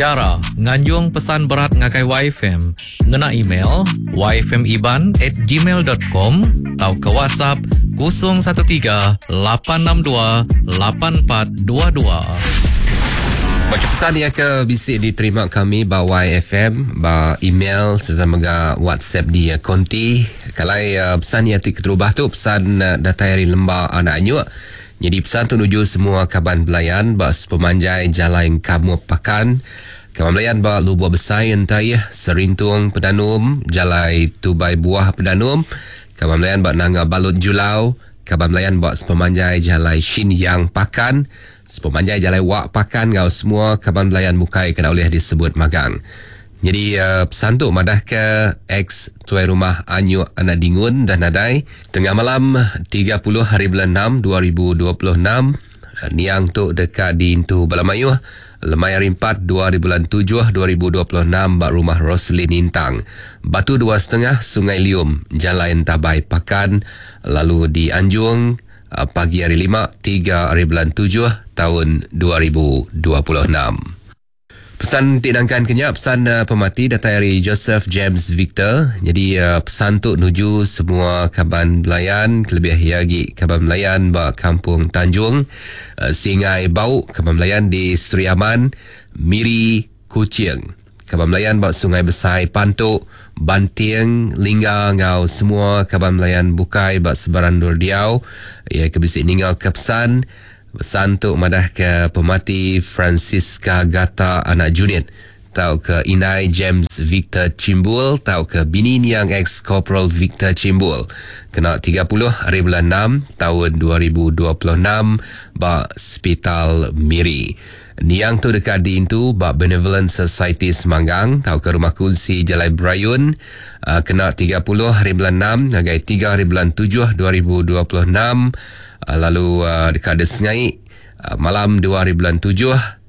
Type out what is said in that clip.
Chara nganjung pesan berat ngagai YFM ngena email yfmiban at gmail dot com tauka WhatsApp 013 862 8422. Bacha pesan iya ke bisi diterima kami ba YFM ba email sereta mega WhatsApp di konti. Kalai pesan iya ti keterubah tu pesan datai ari Lemba Anak Anyuk. Nyadi pesan tu nuju semua kaban belayan ba sepemanjai Jalai Engkamup Pakan, kaban belayan ba Lubok Besai Entaih, Serintung Pedanum, Jalai Tubai Buah Pedanum, kaban belayan ba Nanga Balut Julau, kaban belayan ba sepemanjai Jalai Shin Yang Pakan, sepemanjai Jalai Wak Pakan enggau semua kaban belayan bukai ke enda ulih disebut magang. Nyadi pesan tu madahka ex tuai rumah Anyuk anak Dingun dah nadai tengah malam 30 hari bulan enam 2026. Niang tu deka diintu bala mayuh lemai hari empat dua hari bulan tujuh 2026 ba Rumah Roselyn Intang, Batu dua setengah, Sungai Lium, Jalai Entabai Pakan lalu dianjung pagi hari lima tiga hari bulan tujuh taun 2026. Pesan ti nangkan ke nya pesan pemati datai ari Joseph James Victor. Nyadi pesan tu nuju semua kaban belayan kelebih iya agi kaban belayan ba Kampung Tanjung, Singai Bau, kaban belayan di Sri Aman, Miri, Kuching, kaban belayan ba Sungai Besai Pantu, Banting, Lingga enggau semua kaban belayan bukai ba sebarang endur diau iya ke bisi ninga ke pesan. Pesan tu madahka pemati Francisca Gata anak Junit tauka indai James Victor Chimbul tauka bini niang ex-Korporal Victor Chimbul kena 30 hari bulan enam taun 2026 ba Sepital Miri. Niang tu deka diintu ba Benevolent Society Semanggang tauka Rumah Kunsi Jalai Berayun kena 30 hari bulan enam ngagai tiga hari bulan tujuh 2026. Lalu deka disengai malam dua hari bulan tujuh.